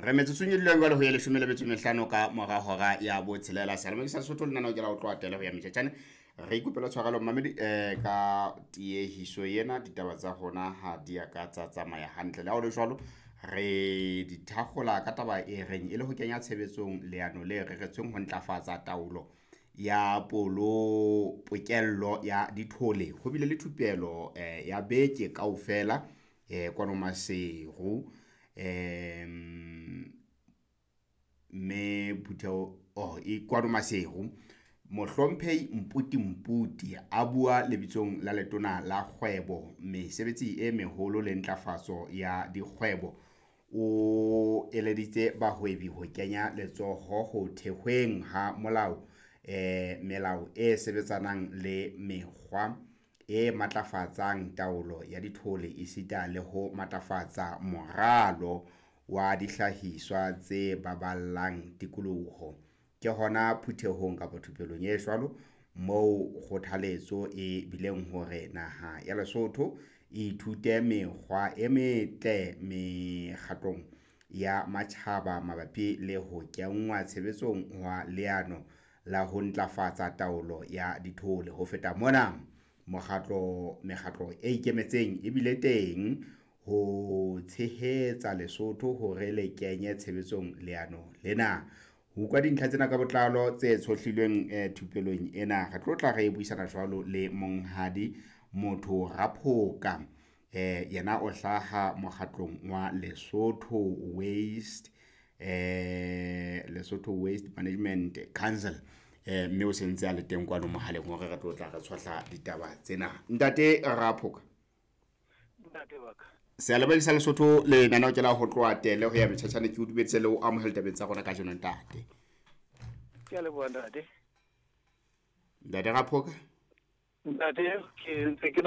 Re metsotsong e duleng jwale ho ye 15 ka mora hora ya 6. Seyalemoyeng sa Lesotho lenaneo ke la ho tloha tele ho ya metjhetjhane. Re ikopela tshwarelo mmamedi ka tiehiso ena, ditaba tsa rona ha di a ka tsa tsamaya hantle. Le ha ho le jwalo, re di thakgola ka taba e reng e le ho kenya tshebetsong leano le reretsweng ho ntlafatsa taolo ya polo pokello ya dithole. Ho bile le thupelo ya beke kaofela kwano Maseru. Mme phutheho oh e kwano Maseru. Mohlomphehi Mputi Mputi a bua lebitsong la letona la kgwebo, mesebetsi e meholo le ntlafatso ya dikgwebo. O eleditse bahwebi ho kenya letsoho ho thehweng ha molao melao e sebetsanang le mekgwa e matlafatsang taolo ya dithole esita le ho matlafatsa moralo wa dihlahiswa tse baballang tikoloho. Ke hona phuthehong kapa thupelong e jwalo moo kgothaletso e bileng hore naha ya Lesotho e ithute mekgwa e metle mekgatlong ya matjhaba mabapi le ho kenngwa tshebetsong hwa leano la ho ntlafatsa taolo ya dithole. Ho feta mona, mekgatlo e ikemetseng e bile teng ho tshehetsa Lesotho hore le kenye tshebetsong leano lena. Ho utlwa dintlha tsena ka botlalo tse tshohlilweng thupelong ena, re tlo tla re buisana jwalo le monghadi Motho Raphoka. Yena o hlaha mokgatlong wa Lesotho Waste Lesotho Waste Management Council. Mme o sentse a le teng kwano mohaleng hore re tlo tla re tshohla ditaba tsena. Ntate Raphoka. Ntate wa ka. Seyalemoyeng sa Lesotho lenaneo ke la ho tloha tele ho ya metjhatjhane. Ke o dumedise le ho amohela tabeng tsa rona kajeno ntate. Ke a leboha ntate. Ntate Raphoka. Ntate, ke ntse ke